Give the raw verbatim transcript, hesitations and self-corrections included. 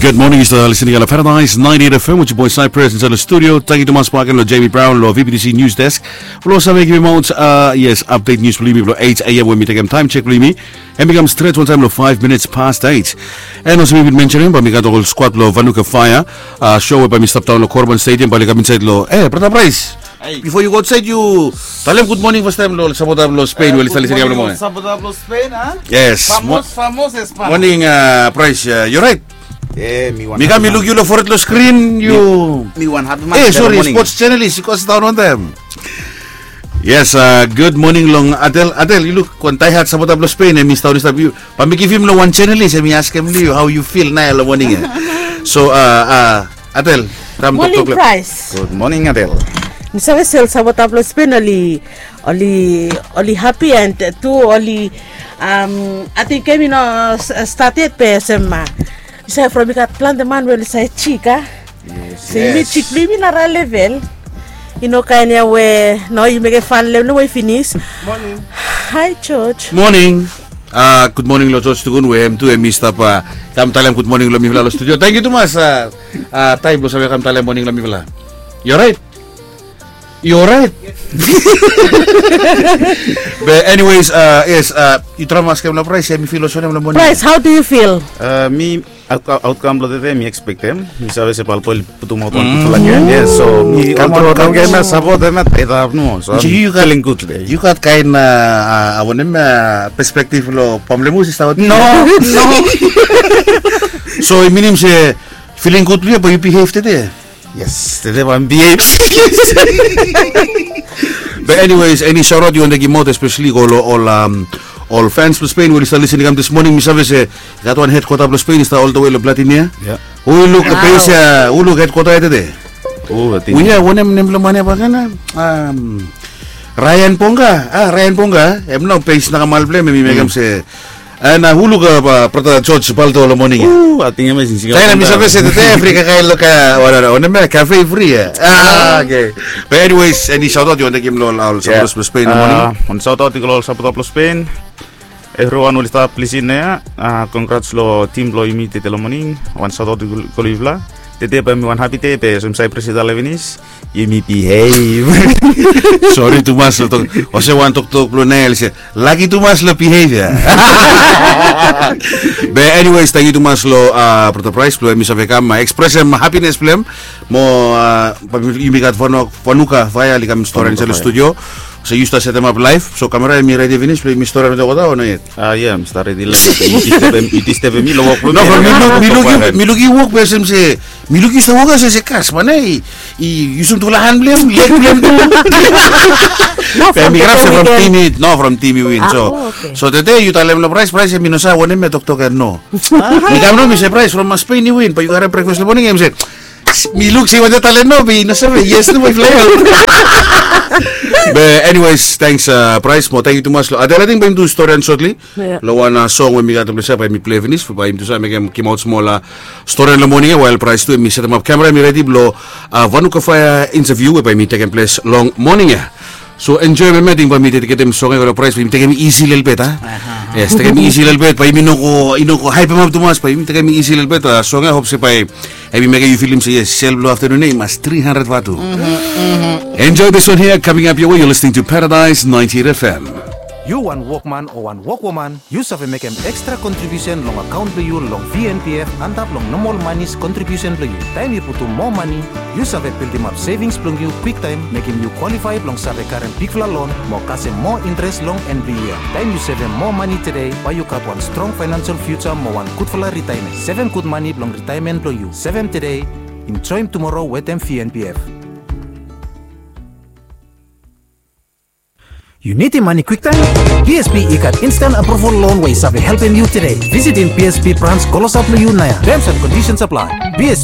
Good morning, yu stap listening long Paradise ninety-eight F M with your boy Cypress inside the studio. Tangkiu tumas bakegen long Jamie Brown long V B T C News Desk. Blong save givim aot, uh, yes, update news blong yumi blong eight A M we mi tekem time check blong yumi. Hem i kam stret wantaem long five minutes past eight. And olsem mi bin mentionem, bae mi gat ol squad blong Vanuka Fire, uh, show we bae mi stap daon long Korban Stadium, bae oli kam insaed long, eh, Brother Bryce. Hey. Before you go outside, yu talem good morning fastaem long sapota blong Spain we oli stap listening long moning. Sapota blong Spain, a? Yes. Famos, famos, Espan. Morning, uh, Bryce. Uh, yu orait? Eh, mi wan. Mi kam, mi luk yu long fored long screen, yu. Mi wan hapi man. Eh, sorry, sports journalist, yu go sidaon wantaem. Yes, uh, good morning long Adel. Adel, yu luk wan diehard sapota blong Spain, hem i sidaon i stap yu. Bae mi givim long wan journalist, hem i askem long yu, hao yu fil naoia long moning ia. So, uh, uh, Adel, kam toktok long. Morning, Bryce. Good morning, Adel. Mi save se ol sapota blong Spain oli, oli, oli hapi and tu oli, um, ating gem i no, uh, stat yet be olsem, uh, yu save from i gat plante man we oli save jik, a? Yes. So yumi jik blong yumi nara level. I no kaen ia we, no, yu mekem fan long hem we i finis. Morning. Hi, George. Morning. Uh, good morning long George Tukun we hem tu hem i stap, uh, kam talem good morning long mifala long studio. Tangkiu tumas, uh, uh, taem blong save kam talem moning long mifala. Yu orait? Yu orait? Be anyways, uh, yes, uh, yu traem askem long Bryce, hem i fil olsem wanem long moning? Bryce, how do you feel? Uh, mi, aotkaem blong tede mi ekspektem. Mi save se bae oli putum aot wan gudfala gem. Yes, so mi kam aot wan gem ia, sapot hem ia, tede aftenun. So yu gat, feeling good tede. Yu gat kaen, uh, uh, wanem, uh, perspective long Pamlemus i stap aot? No, no. So i minim se feeling good blong yu bae yu behave tede? Yes, tede bae mi behave. Be anyways, eni shout out yu wantem givim aot, especially go long ol, um, ol fans blong Spain we oli stap listening kam this morning. Mi save se i gat wan headquarter blong Spain i stap all the way long Platin ia. Hu luk base ia, hu luk headquarter ia tede? Hu ia, wanem nem blong man ia bakegen ia? Um, Ryan Ponga, ah, Ryan Ponga. Hem nao base nakamal blong hem, hem i mekem se. And, uh, hu luk, uh, Brother George Baldo long moning ia? Taem mi save se tede fri kakae long, uh, wanem ia, cafe fri ia. Ah, okay. But anyways, eni shout out yu wantem givim long ol sapota blong Spain long moning? Wan shout out i go long ol sapota blong Spain. Evriwan oli stap lisin ia, uh, congrats long tim blong yumi tede long moning. Wan shout out i go long yufala. Tede bae mi wan hapi dei be olsem Cypress i talem finis, yumi behave. Sori tumas long tok. Olsem wan toktok blong Nael se, laki tumas long behave ia. Be anyways, tangkiu tumas long, uh, Brother Bryce blong hem i save kam, uh, ekspresem happiness blong hem. Mo, uh, bae yumi gat Vanu-, Vanuka Fire oli kam storim insait long studio. So yu stap setemap laef, so kamera hem i redi finis blong yumi storim olgeta o no yet? Ah, yeah, mi stap redi laef. Yu distebem, yu distebem mi long wok blong mi. No, from mi luk, mi luk yu, mi luk yu wok be olsem se, mi luk yu stap wok ia se, se kasman ia i yusum tufala han blong hem, leg blong hem tu. Be mi grab se from tim i, no, from tim i win. So, so tede yu talem long Bryce, Bryce hem i no save wanem ia, toktok ia no. Mi kam nao mi se, Bryce, from Spain i win, bae yu karem breakfast long moning ia, hem se, mi luk se i wantem talem no, be i no save, yes, no, bae i fly out. Be anyways, thanks, uh, Bryce, mo tangkiu tumas long Adel. Ating bae yumi do storian shortly. Long wan, uh, song we mi gat blong save, bae mi plei finis, bae yumi do save mekem, givim aot smol, uh, storian long moning ia, while Bryce tu hem i setemap kamera, hem i redi blong, uh, Vanuka Fire interview we bae mi tekem ples long moning ia. So enjoem ia, ating bae mi dediketem song ia go long Bryce, bae yumi tekem isi lelebet, a? Yes, tekem isi lelebet, bae yumi no go, i no go haepemap tumas, bae yumi tekem isi lelebet, uh, song ia, hope se bae hem i mekem yu filim se yes, sel blong aftenun ia i mas three hundred vatu. Enjoy this one here, coming up your way, you're listening to Paradise ninety-eight F M. Yu wan wokman o wan wokwoman, yu save mekem extra contribution long akaon blong yu long V N P F antap long normal monies contribution blong yu. Taem yu putum moa mane, yu save bildimap savings blong yu kwiktaem, mekem yu kwalifae blong save karem bigfala loan mo kasem moa interes long en blong yia. Taem yu sevem moa mane tede, bae yu gat wan strong financial future mo wan gudfala ritaemen. Sevem gud mane blong ritaemen blong yu. Sevem tede, enjoem tumoro wetem V N P F. Yu nidim mane kwiktaem? B S P i gat instant approval loan we i save helpem yu tede. Visitim B S P branch klosap long yu naoia. Terms and conditions apply. B S